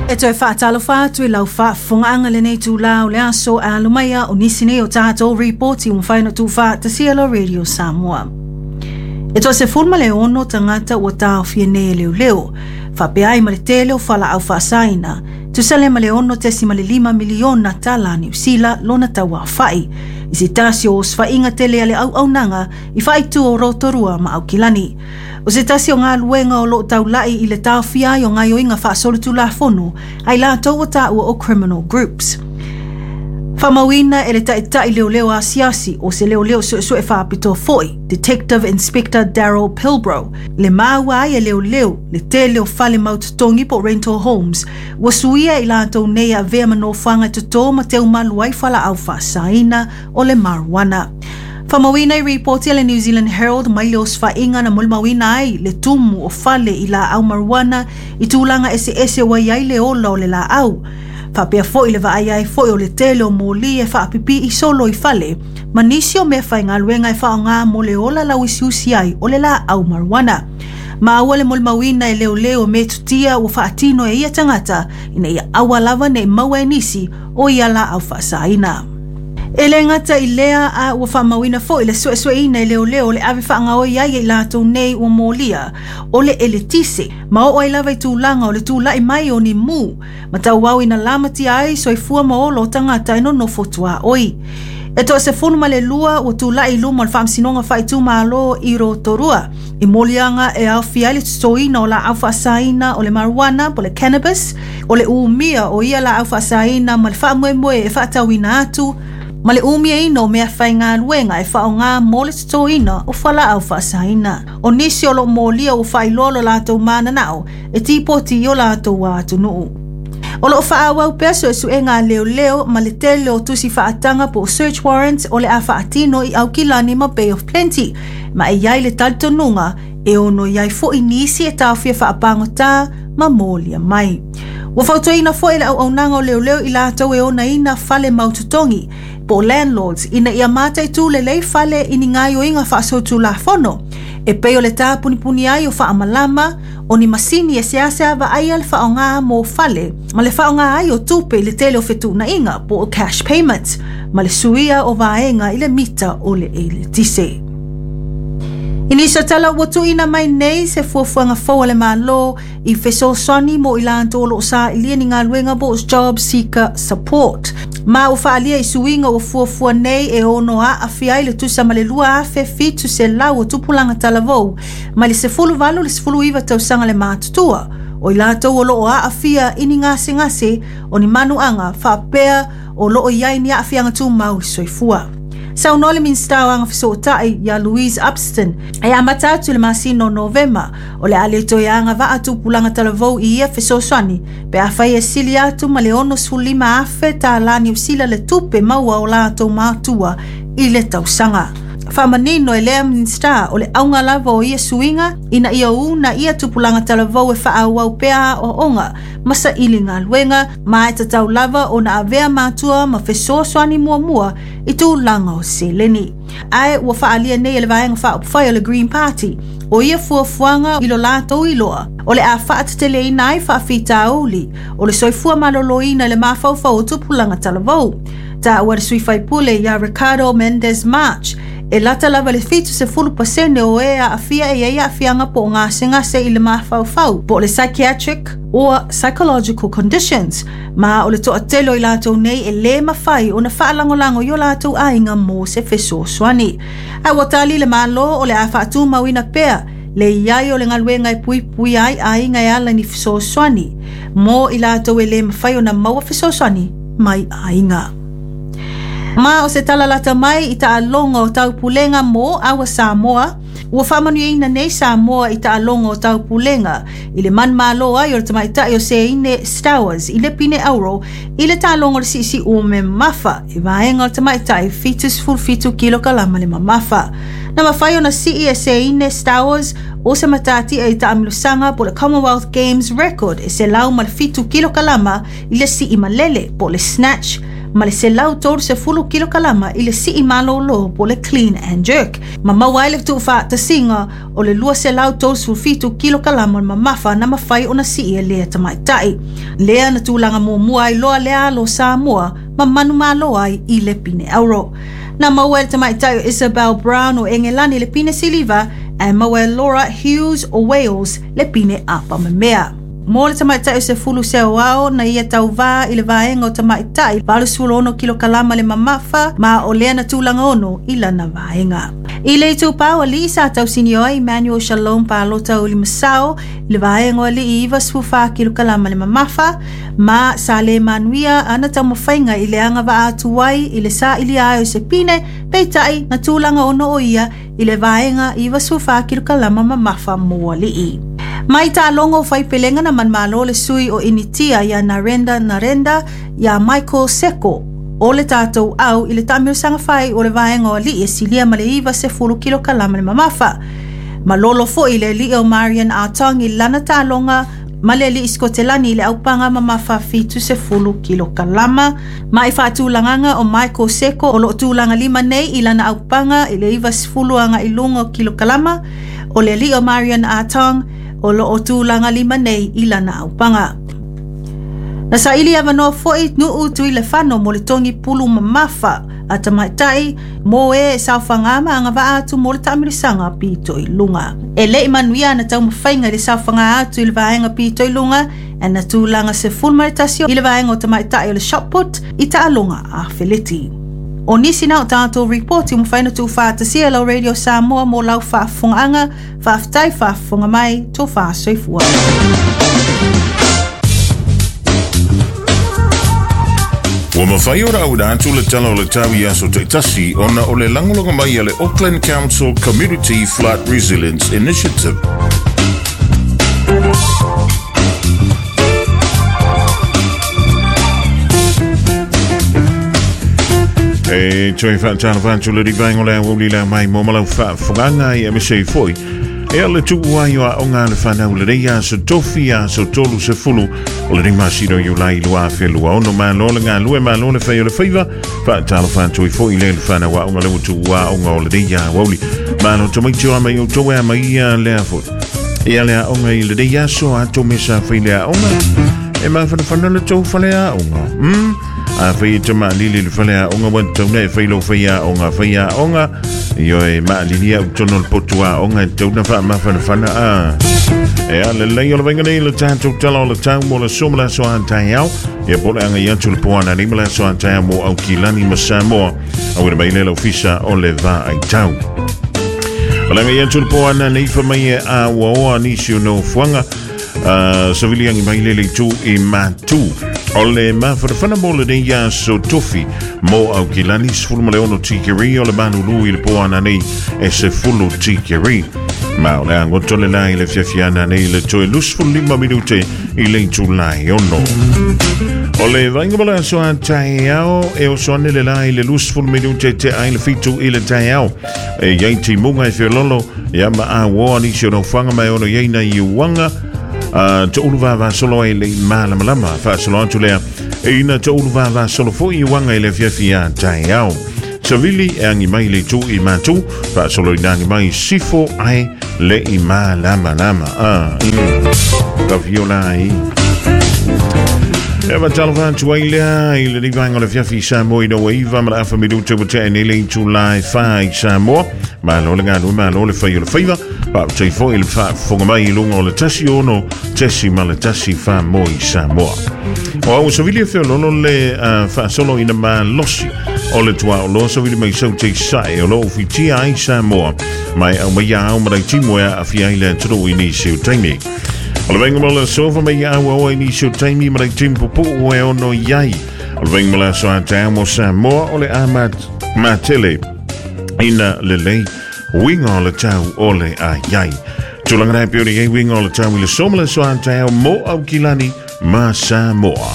E toe faatalofa atu i lau faafofogaaga i lenei itulā o le aso e alo mai a o nisi nei o tatou ripoti ua mafai ona tuufaatasia e la Radio Samoa. E toa 16 tagata ua taofia nei e leoleo, faapea ai ma le tele o fualaau faasaina, tusa lea ma le $6.5 miliona tala Niu Sila lona tauaofai, i se tasi o osofaiga tele a le auaunaga i faaitu o Rotorua ma Aukilani. O se tasi o galuega o lo o taulai i le taofia ai o gaoioiga faasolitulafono a i latou ua taua o criminal groups. Faamauina e le taitai leoleo asiasi o se leoleo suesue faapitoa foi, Detective Inspector Daryl Pilbrow, le maua ai e leoleo le tele o fale mau totogi po o rental homes ua suia i latou nei e avea ma nofoaga e totō ma teumalu ai fualaau faasaina o le marijuana. Faamauina i ripoti a le New Zealand Herald mai le osofaiga na molimauina ai le tumu o fale i laau marijuana i tulaga eseese ua i ai le ola o le laau. Faapea foi le vaai ai foi o le tele o moli e faapipii solo i fale ma nisi o mea faigaluega e faaaoga mo le ola lauusiusi ai o le laau marijuana. Maua le molimauina e leoleo metotia ua faatino e ia tagata ina ia aua lava ne i maua e nisi o ia laau faasaina. E le gata i lea a ua faamauina foi le suesueina e leoleo o le ave faagaoi ai e i latou nei ua molia o le eletise ma oo ai lava i tulaga o le tulai mai o ni mū ma tauau ina lamatia ai soifua ma ola o tagata e nonofo tuaoi. E toa 12 ua tulai i luma o le Faamasinoga Faaitumalo i Rotorua i moliaga e aofia ai le totoina o laau faasaina o le marijuana po o le cannabis, o le umia o ia laau faasaina ma le faamoemoe e faatauina atu, ma le umiaina o mea faigaluega e faaaoga mo le totoina o fualaau faasaina. O nisi o lo o molia ua faailoa lo latou mananao e tipoti i o latou atunuu. O lo o faaauau pea suesuega a leoleo ma le tele o tusi faataga po o search warrants o le a faatino i Aukilani ma Bay of Plenty, ma e i ai le talitonuga e ono i ai foi nisi e taofia faapagota ma molia mai. Ua fautuaina foi e le auaunaga o leoleo i latou e onaina fale mau totogi po o landlords ina ia mataitū lelei fale i ni gaoioiga faasolitulafono e pei o le tāpunipuni ai o faamalama, o ni masini e seasea vaaia le faaaoga mo fale ma le faaaoga ai o tupe i le tele o fetuunaiga po o cash payments ma le suia o vaega i le mita o le eletise. I nisi o tala ua tuuina mai nei se fuafuaga fou a le Malo i fesoasoani mo i latou o lo o sailia ni galuega po o job seeker support. Ma ua faaalia i suiga ua fuafua nei e ono aafia ai le tusa ma le 2,700 o tupulaga talavou mai le 18 i le 19 tausaga le matutua o i latou o lo o aafia i ni gasegase o ni manuaga faapea o lo o i ai ni aafiaga tumau i le soifua. Saunoa le Minisita o Agafesootai ia Louise Upston e amata atu i le masina o Novema o le a le toe agavaa tupulaga talavou i ia fesoasoani pe afai e sili atu ma le $65,000 tālā Niu Sila le tupe maua o latou matua i le tausaga. Faamanino e lea Minisita o le auga lava o ia suiga ina ia una ia tupulaga talavou e faaauau pea aoaoga ma saili galuega ma e tatau lava ona avea matua ma fesoasoani muamua i tulaga o seleni. Ae ua faaalia nei e le Vaega Faaupufai o le Green Party o ia fuafuaga i lo latou iloa o le a faateteleina ai faafitauli o le soifua maloloina i le mafaufau o tupulaga talavou. Taua e le sui faipule ia Ricardo Mendes March e lata lava le 70% o e aafia e i ai aafiaga po o gasegase i le mafaufau po o le psychiatric or psychological conditions, ma o le toatele o i latou nei e lē mafai ona faalagolago i o latou aiga mo se fesoasoani. Ae ua tali le Malo o le a faatumauina pea le i ai o le galuega e puipuia ai aiga e ala i ni fesoasoani mo i latou e lē mafai ona maua fesoasoani mai aiga. Ma o se tala lata mai i taaloga o taupulega mo Our Samoa, ua faamanuiaina nei Samoa i taaloga o taupulega i le manumalo ai o le tamaitai o Seine Stowers i le pine auro i le taaloga o le siisiu mamafa i vaega o le tamaitai 77 kilokalama le mamafa. Na mafai ona sii e Seine Stowers o se matatia i taamilosaga po o le Commonwealth Games record e 107 kilokalama i le sii malele po o le snatch. ma le 130 kilokalama i le sii malōlō po o le clean and jerk, ma maua ai le tuufaatasiga o le 237 kilokalama o le mamafa na mafai ona sii e lea tamaitai. Lea na tulaga muamua ai loa lea alo o Samoa ma manumalo ai i le pine auro. Na maua e le tamaitai o Isabel Brown o Engelani le pine siliva ae maua e Laura Hughes o Wales le pine apamemea. Mo le tamaitai o Sefulu Seoao na ia tauvā i le vaega o tamaitai 86 kilokalama le mamafa ma o lea na tulaga ono i lana vaega. I le itupa o alii sa tausinio ai Emmanuel Shalom Palota o Limasao i le vaega o alii 94 kilokalama le mamafa ma sa le manuia ana taumafaiga i le agavaa atu ai i le sailia ai o se pine, peitai na tulaga ono o ia i le vaega 94 kilokalama mamafa mo alii. Mai taaloga o faipelega na manumalo le sui o Initia ia Narenda Narenda ia Michael Seko o le tatou au i le taamilosaga fai o le vaega o alii e silia ma le 90 kilokalama le mamafa. Malolo foi le alii o Marion Artong i lana taaloga ma le alii Sikotelani i le aupaga mamafa 70 kilokalama. Ma i faatulagaga o Michael Seko o loo tulaga lima nei i lana aupaga i le 90 agai luga o kilokalama, o le alii o Marion Artong o loo tulaga lima nei i lana aupaga. Na saili avanoa foi Nuu Tuilefano mo le togi pulu mamafa a tamaitai mo e saofaga ma agavaa atu mo le taamilosaga pito i luga. E lei manuia ana taumafaiga i le saofaga atu i le vaega pito i luga e na tulaga 11 i le vaega o tamaitai o le shot put i taaloga afeleti. O nisi na o tatou ripoti ua mafai ona tuufaatasia e lau Radio Samoa mo lau faafofogaaga. Faafetai faafofoga mai, tofa soifua. Ua mafai ona auina atu le Tala o le Tau i aso taitasi ona o le lagolago mai a le Auckland Council Community Flood Resilience Initiative. E toe whaatalofa atu le rivaenga o le aoauli la mai mo malau faafofogaaga i aemaise ai foi e le tuu ai o aoga a le fanau lenei aso tofi aso 30 o lenei masina o Iulai 2026. Malo le galue, malo le fai o le faiva. Faatalofa atu ai foi le fanau aoga le ua tuu aoga o lenei aoauli. Malo tamaiti o a mai outou e a mai ia lea foi. Ia le aoga i lenei aso a tō mesa fai le aoga. E mafanafana le tou fale aoga. A fai e te maalili le fale aoga ua tauna e fai lau fai aoga fai aoga. Io e maalili au tono le potu aoga e tauna faamafanafana a. E a le lei o le vainga nei le tātou tala o le tau mo le so ma le aso a taeao. Ia po le anga i atu le poana nei ma le aso a taeao mo Aukilani ma Samoa. Auina mai le lau fisa o le vā ai tau. O le anga i atu le poana nei fa mai e a ua oa nisi o nofoaga. Savili angi mai le leitu i matu. O le mafanafana mo lenei aso tofi mo Aukilani 16 tikeri o le manulu i le poana nei e 10 tikeri. Ma o le agoto le la i le fiafiana nei le toe 25 minute i le itulai ono. O le vainga mo le aso a taeao e oso ane le la i le 20 minute te ai le 7 i le taeao. E iai timuga e feololo ia ma a uoa nisi o nofoaga ma e ono iai nai iuaga toulu vavasolo ai le i malamalama. Faasolo atu lea ina toulu vavasolo foi iuaga i le afiafi a taeao. Savili e agi mai le itu i matu, faasolo ina agi mai sifo ai le i malamalama. Tawhio la ai. E matalofa atu ai lea i lenei vaega o le afiafi i Samoa ina ua iva ma le afa minute ua tea nei le itula e fa i Samoa. Malo le galue, malo le fai o le faiva. Faafetai foi i le faafofoga mai i luga o le 16.1 Faamoa i Samoa. O au savili e feololo le faasolo ina malosi o le tuaoloa savili mai sau te sae o loo fitia ai Samoa mai au mai au ma timu e aafia ai le atunuu i nisi o taimi. O le vainga mo le aso fa mai au au i nisi o taimi ma timu pupuu e ono iai. O le vainga mo le aso a taeao mo Samoa o le a matele ina lelei uiga o le tau o le a iai. Tulaga nei pei ona iai uiga o le tau i le so ma le aso a taeao mo Aukilani ma Samoa.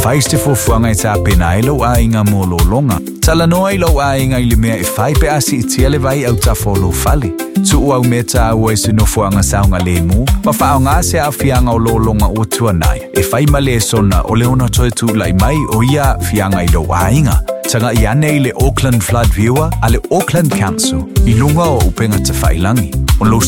Fai se fuafuaga e tapena ai lou aiga mo lologa. Talanoa i lou aiga i le mea e fai pe a siitia le vai i autafa o lou fale. Tuu au mea taua i se nofoaga saogalemu ma faaaoga se aafiaga o lologa ua tuanai e fai ma lesona o le ono toe tulai mai o ia aafiaga i lou aiga. Tagai ane i le Auckland Flood Viewer a le Auckland Council i luga o upega tafailagi. O lou